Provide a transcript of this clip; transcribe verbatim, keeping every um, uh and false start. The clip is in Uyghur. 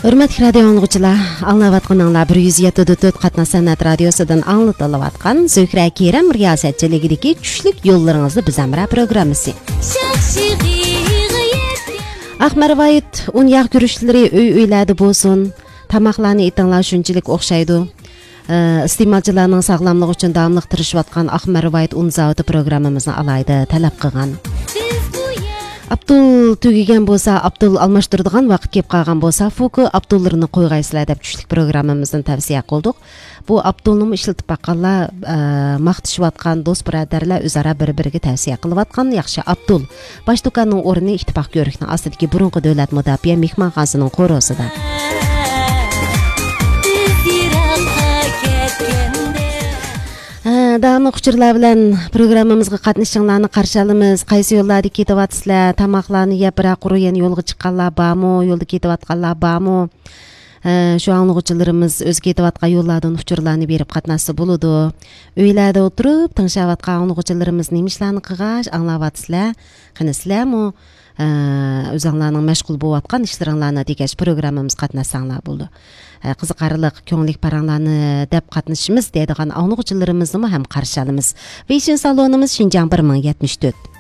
ھۆرمەتلىك رادىيو ئاڭلىغۇچىلار، ئاڭلاۋاتقىنىڭلار بىر يۈز يەتتە نۆقتە تۆت قاتناش سەنئەت رادىيوسىدىن ئاڭلىتىلىۋاتقان زۆھرە كېرەم رىياسەتچىلىكىدىكى چۈشلۈك يوللىرىڭىزدا بىز ھەمراھ پروگراممىسى. ئاق مەرۋايىت ئۇن ياغ گۈرۈچلىرى ئۆي-ئۆيلەردە بولسۇن، تاماقلارنى ئېتىڭلار شۇنچىلىك ئوخشايدۇ. ئە، ئىستېمالچىلارنىڭ ساغلاملىقى ئۈچۈن داۋاملىق تىرىشىۋاتقان ئاق مەرۋايىت ئۇن زاۋۇتى پروگراممىمىزنى ئالاھىدە تەلەپ قىلغان. ئاپتول تۈگىگەن بولسا، ئاپتول ئالماشتۇرىدىغان ۋاقىت كېلىپ قالغان بولسا، فۇكۇ ئاپتوللىرىنى قويغايسىلەر دەپ چۈشلۈك پروگراممىمىزدىن تەۋسىيە قىلدۇق. بۇ ئاپتولنىمۇ ئىشلىتىپ باققانلار، ئە، ماختىشىۋاتقان دوست بۇرادەرلەر ئۆزئارا بىر-بىرىگە تەۋسىيە قىلىۋاتقان ياخشى ئاپتول. باش دۇكاننىڭ ئورنى ئىتتىپاق كۆۋرۈكنىڭ ئاستىدىكى بۇرۇنقى دۆلەت مۇداپىئە مېھمانخانىسىنىڭ قورۇسىدا. ھە، داۋاملىق ئۇچۇرلار بىلەن پروگراممىمىزغا قاتنىشىشىڭلارنى قارشى ئالىمىز. قايسى يوللاردا كېتىۋاتىسىلەر؟ تاماقلارنى يەپ، بىراق قۇرۇ يەنە يولغا چىققانلار بارمۇ؟ يولدا كېتىۋاتقانلار بارمۇ؟ ھە، شۇ ئاڭلىغۇچىلىرىمىز ئۆزى كېتىۋاتقان يوللاردىن ئۇچۇرلارنى بېرىپ قاتناشسا بولىدۇ. ئۆيلەردە ئولتۇرۇپ تىڭشاۋاتقان ئاڭلىغۇچىلىرىمىز نېمە ئىشلارنى قىلغاچ ئاڭلاۋاتىسىلەر؟ قېنى سىلەرمۇ، ئە، ئۆزۈڭلارنىڭ مەشغۇل بولۇۋاتقان ئىشلىرىڭلارنى دېگەچ پروگراممىمىزغا قاتناشساڭلار بولىدۇ. ئە، قىزىقارلىق، كۆڭۈللۈك پاراڭلارنى دەپ قاتنىشىمىز دەيدىغان ئاڭلىغۇچىلىرىمىزنىمۇ ھەم قارشى ئالىمىز. ۋېيشىن سالونىمىز شىنجاڭ بىر مىڭ يەتمىش تۆت.